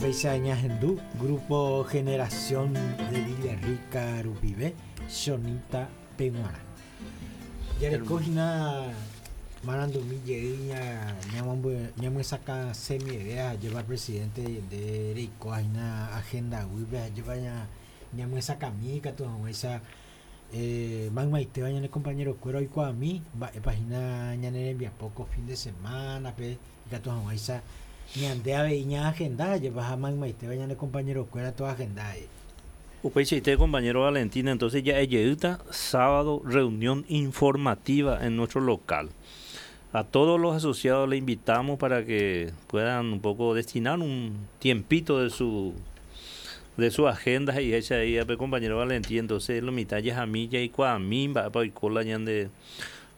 Upéicha ñahendu Grupo Generación de Villarrica rupive Chonita peguarã. Jareko hína marandumi jey ñamyesakãsemieve ajépa presidente nde reikóva hína agenda guýpe ajépa ñamyesakãmi ikatu hag̃uáicha Maymaitéva ñane kompañerokuéra oikuaami mba'épa hína ñane rembiapo ko fin de semánape, ikatu hag̃uáicha ñande avei ñaagenda jepa ha maymaitéva ñane kompañerokuéra toagenda avei. Upeichaite compañero Valentín, entonces ja'e jeýta sábado reunión informativa en nuestro local. A todos los asociados le invitamos para que puedan un poco destinar un tiempito de su de su agenda he'iháicha he'i pe compañero Valentín entonces lo mitã jahami jaikuaami mba'épa oiko la ñande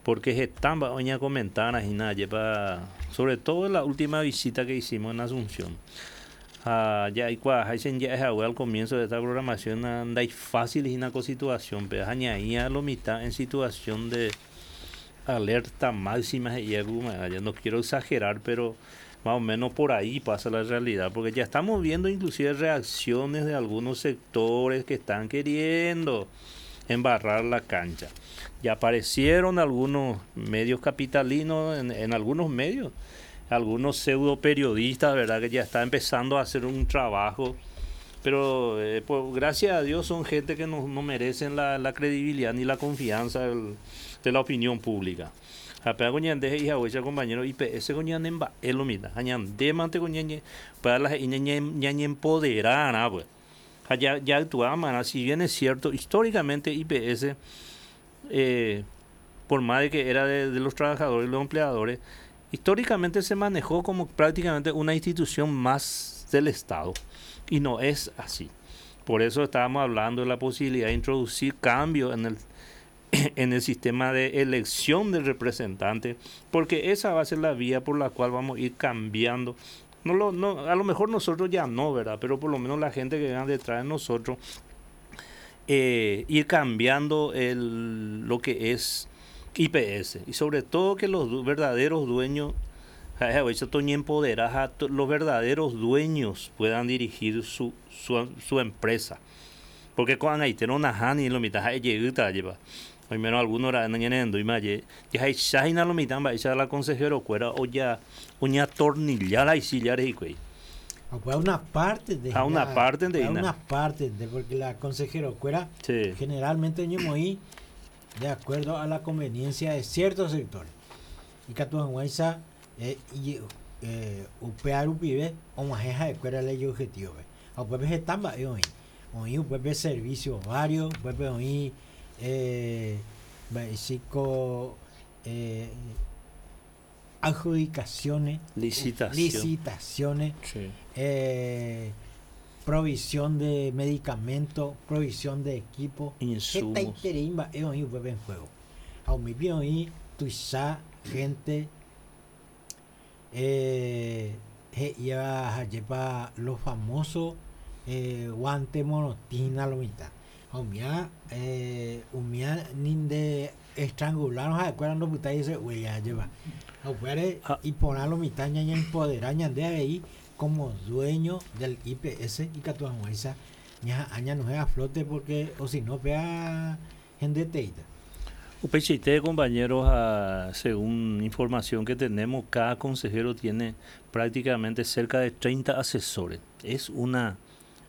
porque heta mba'e oñakomentárã hína ajépa sobre todo la última visita que hicimos en Asunción ha jaikuaaháicha ja'e hague al comienzo de esta programación ndaifácil hína ko situación pe ha ñaĩ lo mitã en situación de alerta máxima he'i ya no quiero exagerar pero más o menos por ahí pasa la realidad porque ya estamos viendo inclusive reacciones de algunos sectores que están queriendo embarrar la cancha. Ya aparecieron algunos medios capitalinos, en, en algunos medios, algunos pseudo periodistas, ¿verdad? Que ya está empezando a hacer un trabajo pero eh, pues, gracias a Dios son gente que no, no merecen la, la credibilidad ni la confianza del, de la opinión pública. Ha péva ko ñande he'i haguéicha compañero IPS ko ñane mba'e lo mitã. Ha ñande mante ko ñañe upéva la he'i ñañempoderarã pues. Ha ja ja'actuámarã, si bien es cierto, históricamente IPS eh, por más de que era de, de los trabajadores y los empleadores, históricamente se manejó como prácticamente una institución más del Estado. Y no es así. Por eso estábamos hablando de la posibilidad de introducir cambios en el, en el sistema de elección del representante, porque esa va a ser la vía por la cual vamos a ir cambiando. No lo, no, a lo mejor nosotros ya no, ¿verdad? Pero por lo menos la gente que venga detrás de nosotros, eh, ir cambiando el, lo que es IPS. Y sobre todo que los verdaderos dueños, los verdaderos dueños puedan dirigir su, su, su empresa. Porque ko'ag̃aite nahániri lo mitã ha'e jeýta ajépa. Oimérõ alguno ra'e nañanehendúima aje, jahecháhina hína lo mitã mba'éicha la consejero-kuéra oja oñatornilla la isíllare hikuái. Ha una parte de Ha una parte de una parte de porque la consejero-kuéra sí. generalmente oñemoĩ de acuerdo a la conveniencia de ciertos sectores. Ikatu hag̃uáicha eh, eh, upéva rupive og̃uahẽ ha'ekuéra la ijobjetivo-pe. Ha upépe heta mba'e oĩ. Oĩ upépe servicio vario, upépe oĩ eh, mba'eichiko eh, adjudicaciones, Licitación. licitaciones, Sí. eh, provisión de medicamento, provisión de equipo, Insumos. hetaiterei mba'e oĩ upépe en juego. Ha umípe oĩ tuicha gente eh, he'íva hajépa lo famoso eh, guante morotina lo mitã. Ha umía eh, umía ni nde estrangularon ha'ekuéra ndopytái hese huella ajépa. Ha upévare Ha iporã lo mitã ñañempoderá ñande avei como dueño del IPS ikatu hag̃uáicha ñaha'ã ñanohẽ a flote porque o si no péa hendeteíta. Upeichaite, compañeros, ha según información que tenemos, cada consejero tiene prácticamente cerca de 30 asesores. Es una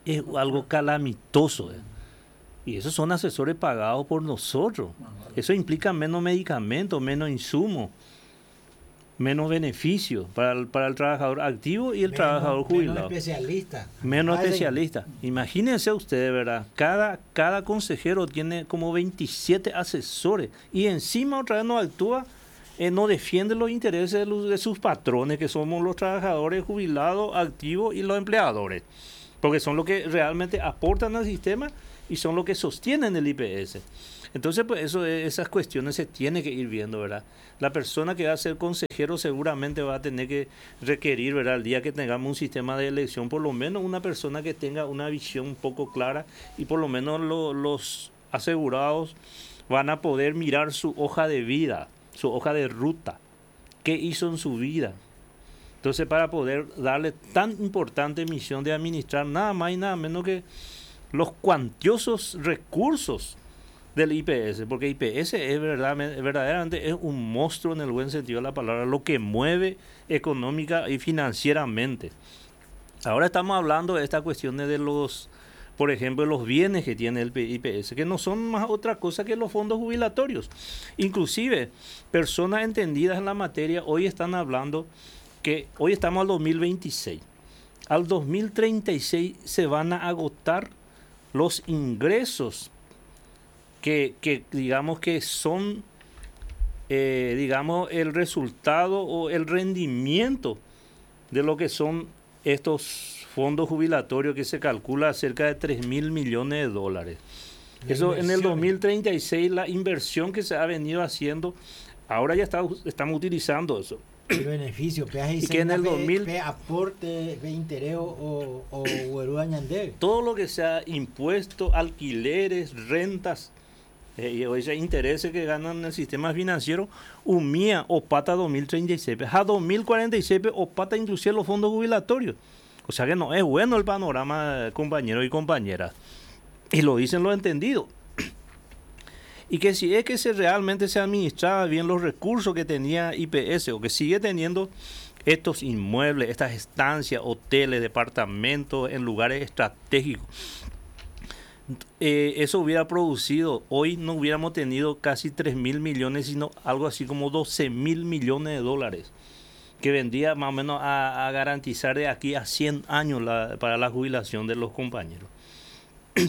es algo calamitoso. Y esos son asesores pagados por nosotros. Eso implica menos medicamentos, menos insumos, menos beneficios para el, para el trabajador activo y el Menos, trabajador menos jubilado. especialista. Menos Hacen- especialistas. Imagínense ustedes, ¿verdad? Cada, cada consejero tiene como 27 asesores y encima otra vez no actúa, no defiende los intereses de, los- de sus patrones, que somos los trabajadores jubilados, activos y los empleadores, porque son los que realmente aportan al sistema y son los que sostienen el IPS. Entonces, pues eso, esas cuestiones se tiene que ir viendo, ¿verdad? La persona que va a ser consejero seguramente va a tener que requerir, ¿verdad? El día que tengamos un sistema de elección, por lo menos una persona que tenga una visión un poco clara y por lo menos los asegurados van a poder mirar su hoja de vida, su hoja de ruta, qué hizo en su vida. Entonces, para poder darle tan importante misión de administrar nada más y nada menos que los cuantiosos recursos del IPS, porque IPS es verdad, verdaderamente es un monstruo en el buen sentido de la palabra, lo que mueve económica y financieramente. Ahora estamos hablando de esta cuestión de los, por ejemplo, los bienes que tiene el IPS, que no son más otra cosa que los fondos jubilatorios. Inclusive, personas entendidas en la materia hoy están hablando que hoy estamos al 2026. Al 2036 se van a agotar los ingresos que digamos que son, digamos, el resultado o el rendimiento de lo que son estos fondos jubilatorios que se calcula cerca de 3 mil millones de dólares. Eso en el 2036, la inversión que se ha venido haciendo, ahora ya estamos utilizando eso. El beneficio, y que en el 2000 aporte, interés o todo lo que sea impuestos, alquileres, rentas, y ese intereses que ganan en el sistema financiero, umía o pata 2036, a 2046 o pata inclusive los fondos jubilatorios. O sea que no es bueno el panorama, compañeros y compañeras. Y lo dicen los entendidos. Y que si es que se realmente se administraba bien los recursos que tenía IPS o que sigue teniendo estos inmuebles, estas estancias, hoteles, departamentos en lugares estratégicos, eso hubiera producido, hoy no hubiéramos tenido casi 3 mil millones, sino algo así como 12 mil millones de dólares, que vendría más o menos a garantizar de aquí a 100 años para la jubilación de los compañeros.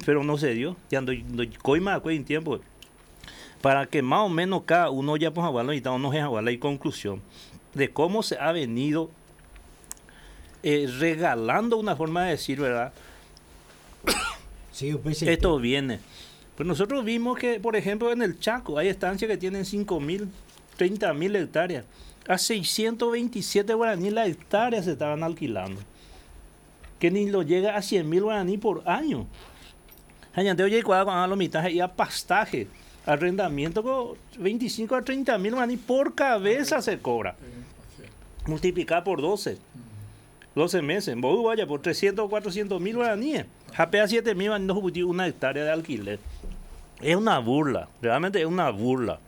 Pero no se dio, ya no coima en tiempo. Para que más o menos cada uno ya pues no la conclusión de cómo se ha venido regalando una forma de decir, ¿verdad? Sí, pues, esto viene. Pues nosotros vimos que, por ejemplo, en el Chaco hay estancias que tienen 5.000, 30.000 hectáreas. A 627 guaraníes la hectárea se estaban alquilando. Que ni lo llega a 100.000 guaraníes por año. Oye, cuando la mitad y a pastaje, arrendamiento con 25 a 30.000 guaraníes por cabeza se cobra. Multiplicar por 12. 12 meses. Vos vaya por 300 o 400 mil guaraníes. Japea 7 mil no una hectárea de alquiler. Es una burla, realmente es una burla.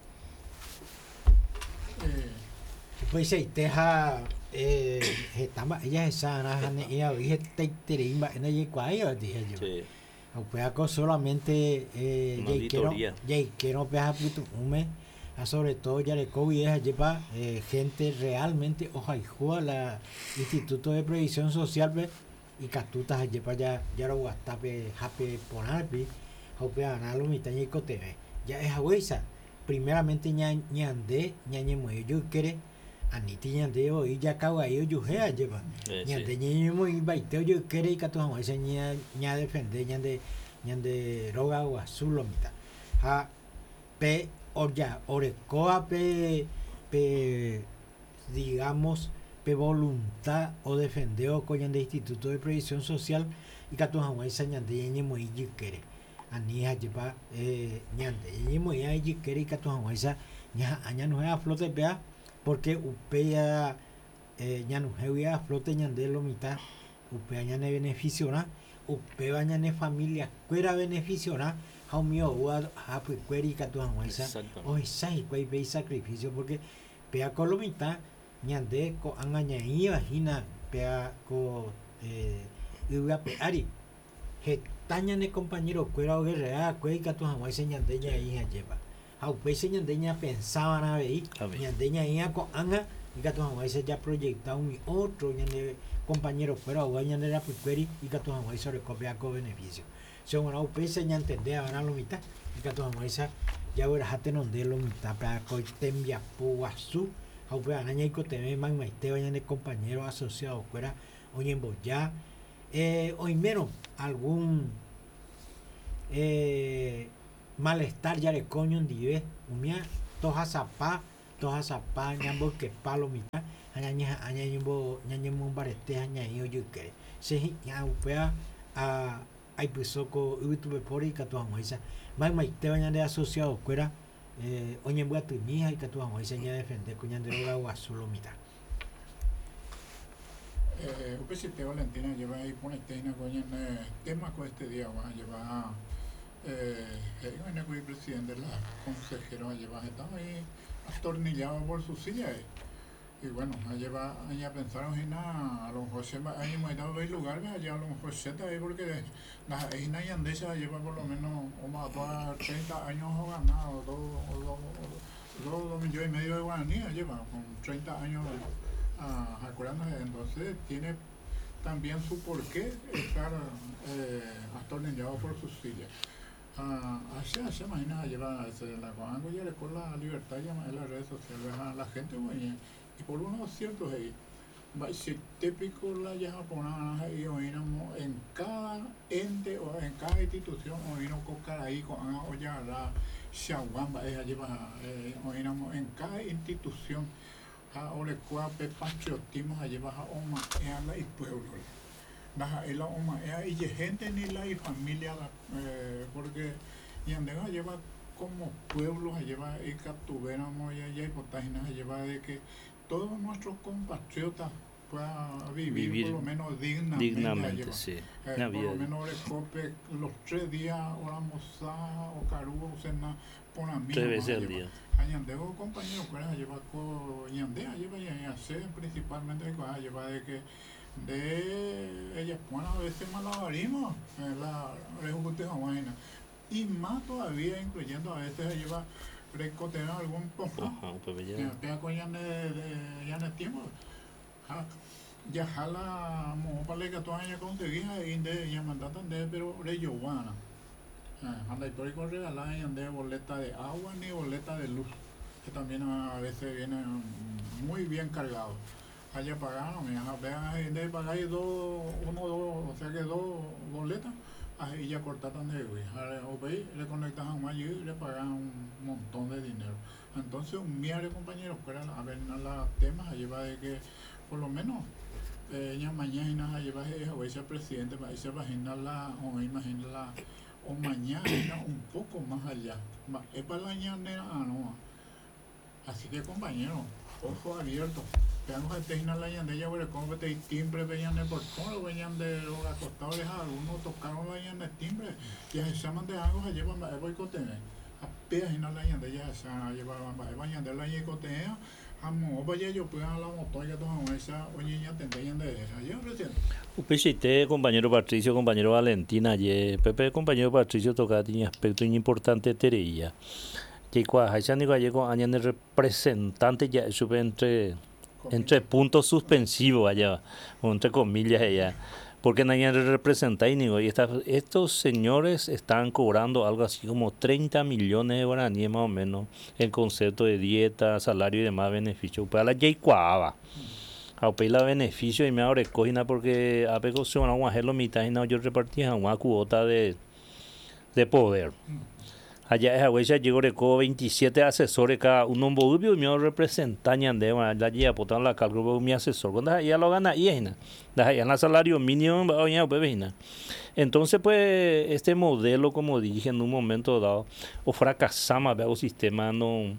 Pues se teja ella es sana, ella dije te en ella dije yo. Sí. O solamente ya quiero puto sobre todo ya le COVID es lleva gente realmente ojaijúa la Instituto de Previsión Social y catutas lleva ya ya lo guastape jape ponarpi jope analo mitaña y coteve ya es agüeza primeramente ña ñande ñañe yo quiere aniti ñande y ya cago ahí yo jea lleva ñande ñañe muy baiteo yo quiere y catu ese ña ña defender ñande ñande roga o azul lo mitad ja pe ya orecoa pe pe digamos pe voluntad o defendeo con de Instituto de Previsión Social y catu esa ñande ñañe muy quiere anija lleva ñande ñañe muy quiere y catu esa ña aña no es a flote vea porque upea ñanuje a flote ñande lo mitad upea ñane beneficio upea ñane familia cuera beneficio jaumio ua japuikueri katu hag̃uáicha ohecha hikuái pe sacrificio porque pea ko lo mitad ñande ko'ág̃a ñaĩva hína pea ko yvyape ári heta ñane compañerokuéra oguerrea'akue ikatu hag̃uáicha ñande ñaĩ hajépa ha upéicha ñande ñapensávarã avei ñande ñaĩva ko'ág̃a ikatu hag̃uáicha japroyecta umi otro ñane compañerokuéra oúva ñande rapykuéri ikatu hag̃uáicha oreko pea ko beneficio. Según upéicha ñantendévarã lo mitad ikatu hag̃uáicha jagueraha tenonde lo mitad pea ko tembiapo guasu ha upevarã ñaikotevẽ maymaitéva ñane compañero asociadokuéra oñemboja oimérõ algún malestar jareko ñondive umía tohasapa tohasapa ñamboykepa lo mitad ha ñañeha'ã ñañemombarete ha ñaĩ ojoykére che hi'ã upéva a aipyso ko yvytupepóre ikatu hag̃uáicha maymaitéva ñande asociadokuéra oñembyatymi ha ikatu hag̃uáicha ñadefende ko ñande róga guasu lo mitad. Eh, upe Valentina lleva ahí iporãite ko ñane tema ko este día va lleva eh, he'i presidente la consejero lleva estaba ahí atornillado por su silla eh. Y bueno, lleva ya pensaron a lo mejor se hay lugar allá a lo mejor se ahí porque la y andesa lleva por lo menos o más 30 años o ganado 2,5 millones de guaraníes lleva con 30 años acordándose. Entonces tiene también su porqué estar atornillado por su silla. Así se imagina lleva la ya con la libertad en las redes sociales a la gente güey, y por unos ciertos ahí típico la japonesa y oíramos en cada ente o en cada institución oímos ahí con o ya la ella lleva oíramos en cada institución a pe patriotismo lleva a oma la y pueblo la oma y gente ni la y familia porque y lleva como pueblo lleva y capturamos y ya y lleva de que todos nuestros compatriotas puedan vivir, por lo menos dignamente. Dignamente, sí. Por lo menos recope los 3 días, o almorzar, o caru, o cena, por a mí. Tres veces al día. Añandego, compañero, lleva con ñandea, lleva y hacer principalmente, lleva de que de ellas bueno, a veces malabarismo, la vaina. Y más todavía, incluyendo a veces lleva recotear algún poco. Ya con ya de tiempo. Ya jala mo pale que tú ya conseguía y de ya mandatan de pero re anda histórico regalar y de boleta de agua ni boleta de luz, que también a veces viene muy bien cargado. Allá pagaron, vean, de pagar dos, uno, dos, o sea que dos boletas, ahí ya cortaron de güey. O le conectan a un allí y le pagan un montón de dinero. Entonces, un miario compañero, fuera a ver la tema, lleva de que por lo menos ella mañana lleva a ese presidente, para esa página la, o imagina la, o mañana un poco más allá. Es para la no. Así que compañero, ojo abierto. Veamos a la ñande ya como que timbre veían el portón, veían de los acostados algunos tocaron la de timbre, ya se llaman de algo, se llevan a boicotear. Apenas no la ñande ya se llevaban a ñande la ñecotea, amo vaya yo pues a la moto ya todo esa oye ya te de ayer presidente. Upeichaite compañero Patricio, compañero Valentina, ayer Pepe compañero Patricio toca tiene aspecto importante tereía. Que cuajacha ni gallego añade representante ya sube entre puntos suspensivos allá, o entre comillas allá, porque nadie representa y y estos señores están cobrando algo así como 30 millones de guaraníes más o menos en concepto de dieta, salario y demás beneficios. Pues a la jaikuaáva. A la beneficio y me ahora cogina porque a poco se van a hacer lo mitad y no yo repartía una cuota de poder. Allá es a llegó reco 27 asesores cada uno un y me representan de la lleva botan la cálculo mi asesor cuando ya lo gana y es ya en salario mínimo pues, entonces pues este modelo, como dije en un momento dado, o fracasamos el sistema no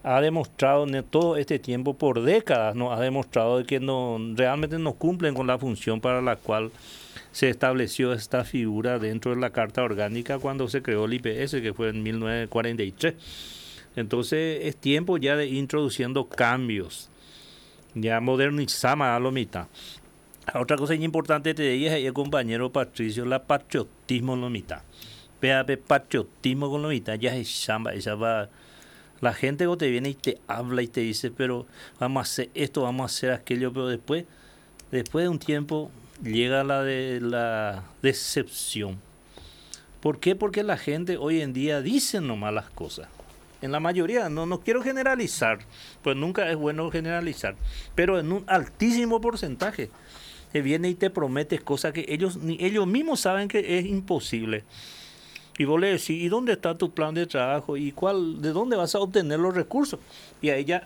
ha demostrado en todo este tiempo, por décadas, no ha demostrado que no realmente no cumplen con la función para la cual se estableció esta figura dentro de la Carta Orgánica cuando se creó el IPS, que fue en 1943. Entonces es tiempo ya de ir introduciendo cambios, ya modernizamos a lo mitad. Otra cosa importante te dije el compañero Patricio, la patriotismo en lo mitad. PAP patriotismo con lo mitad, ya es chamba, esa va. La gente que te viene y te habla y te dice, pero vamos a hacer esto, vamos a hacer aquello, pero después de un tiempo llega la de la decepción. ¿Por qué? Porque la gente hoy en día dice nomás las cosas. En la mayoría, no, no quiero generalizar, pues nunca es bueno generalizar, pero en un altísimo porcentaje te viene y te promete cosas que ellos, ni ellos mismos saben que es imposible. Y vos le decís, ¿y dónde está tu plan de trabajo? ¿Y cuál, de dónde vas a obtener los recursos? Y ahí ya...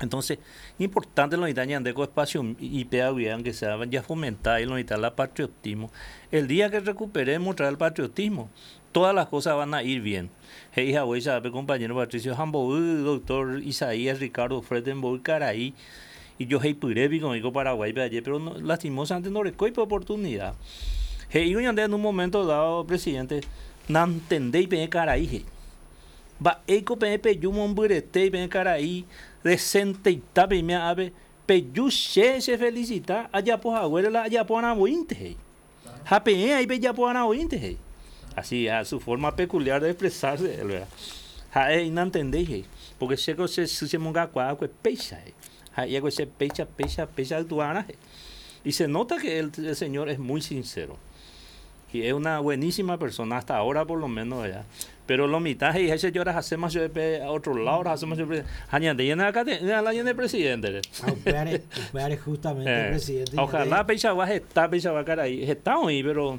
Entonces, importante lo de espacio y aunque sea ya fomentar y lo la patriotismo. El día que recuperemos traer el patriotismo, todas las cosas van a ir bien. Hey, compañero Patricio Jambo, doctor Isaías Ricardo Fredenborg Caraí. Ijoheipyrépi oĩ ko Paraguáipe aje, pero no, lastimosamente ndorekói pe oportunidad. He'ívo ñande en un momento dado, presidente, nantendéi peẽ karai he'i. Mba'éiko peẽ peju mombyretéi peẽ karai decenteita peime ápe, peju che chefelicita ajapo haguére la ajapo arãvoínte he'i. Ha peẽ aí pejapo arãvoínte he'i. Así, a su forma peculiar de expresarse, él, ¿verdad? Ha'e he'i nantendéi he'i, porque chéko che sy chemongakuaákue péicha he'i. Ha he'iakue che péicha, péicha, péicha aytuarã he'i. Y se nota que el, el señor es muy sincero. Y es una buenísima persona, hasta ahora por lo menos, ¿verdad? Pero lo mitad he'iháicha jorahaséma chupe a otro lado, orahaséma chupe, ha ñande ñaneakate'ỹ la ñane presidente-re. Ha upévare, upévare justamente el presidente Ojalá ñande peichagua heta peichagua karai, heta oĩ, pero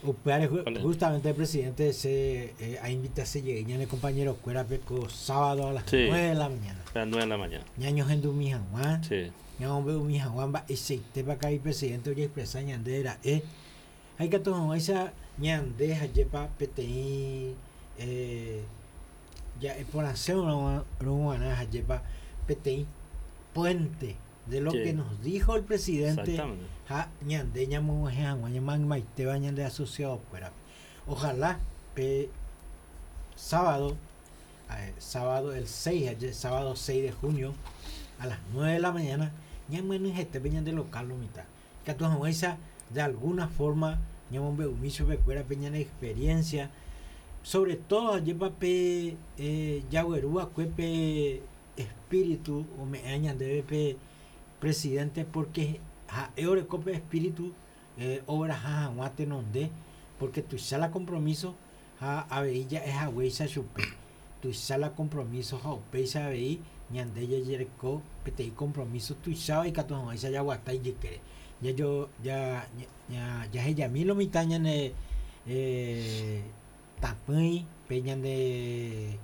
Upévare justamente el presidente che ainvitase jey ñane compañero-kuérape ko sábado a las Sí. 9 de la mañana. A las 9 de la mañana. Ñañohendumi hag̃ua, Sí. ñamombe'umi hag̃ua mba'eichaitépa karai presidente ojeexpresa ñande ra'e. Ha ikatu hag̃uáicha ñande hajépa peteĩ ja'e porãse rug̃uarã hajépa peteĩ puente de lo que nos dijo el presidente ha ñande ñamog̃uahẽ hag̃ua ñamaymaiteva ñande asociado-kuérape. Ojalá pe sábado, sábado el 6, aje, sábado 6 de junio a las 9 de la mañana ñamyenyhẽte pe ñande local lo mitã. Ikatu hag̃uáicha de alguna forma ñamombe'umi chupekuéra pe ñane experiencia, sobre todo ajépa pe jagueru va'ekue pe espíritu ome'ẽ ñandéve pe presidente porque ha'e oreko pe espíritu ogueraha hag̃ua tenonde porque tuicha la compromiso ha avei ja'e haguéicha chupe tuicha la compromiso ha upéicha avei ñande jajereko peteĩ compromiso tuicháva ikatu hag̃uáicha jaguata ijykére. Jajo ja jahejami lo mitã ñane tapỹi pe ñane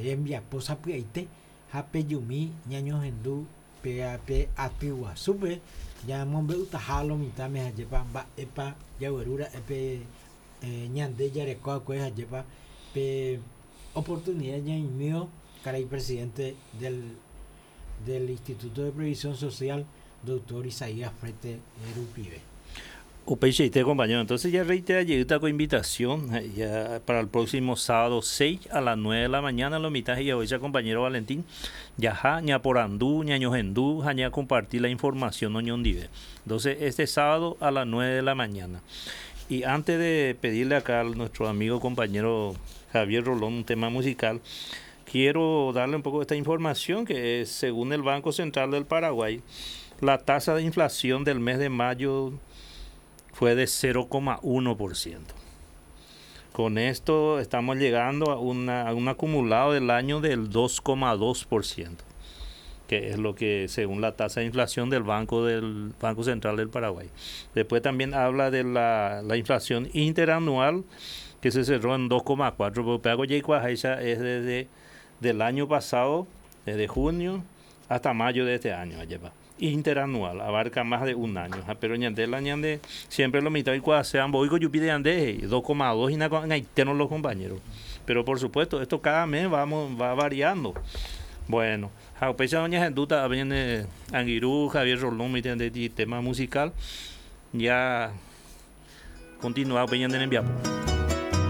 rembiapo sapy'aite ha pejumi ñañohendu péa pe aty guasúpe ñamombe'utaha lo mitãme hajépa mba'épa jagueru ra'e pe ñande jareko va'ekue hajépa pe oportunidad ñaimívo karai presidente del del Instituto de Previsión Social, doctor Isaías Frete rupive. Upeichaite compañero, entonces ya reitera jeýta ko invitación ya para el próximo sábado 6 a las 9 de la mañana lo mitad y hoy compañero Valentín jaha ñaporandu, ñañohendu ha ñacompartir la información oñondive. Entonces este sábado a las 9 de la mañana. Y antes de pedirle acá a nuestro amigo compañero Javier Rolón un tema musical, quiero darle un poco esta información que es, según el Banco Central del Paraguay, la tasa de inflación del mes de mayo fue de 0,1%. Con esto estamos llegando a, a un acumulado del año del 2,2%, que es lo que según la tasa de inflación del Banco Central del Paraguay. Después también habla de la inflación interanual que se cerró en 2,4, pero es desde del año pasado, desde junio hasta mayo de este año, interanual, abarca más de un año. Pero ñande la ñande siempre lo mitad y cuando sean voy con de ande 2,2 y na los compañeros. Pero por supuesto, esto cada mes va variando. Bueno, upéicha doña Genduta viene Anguirú, Javier Rolón, mi tema musical. Ya continúa peña en enviapo.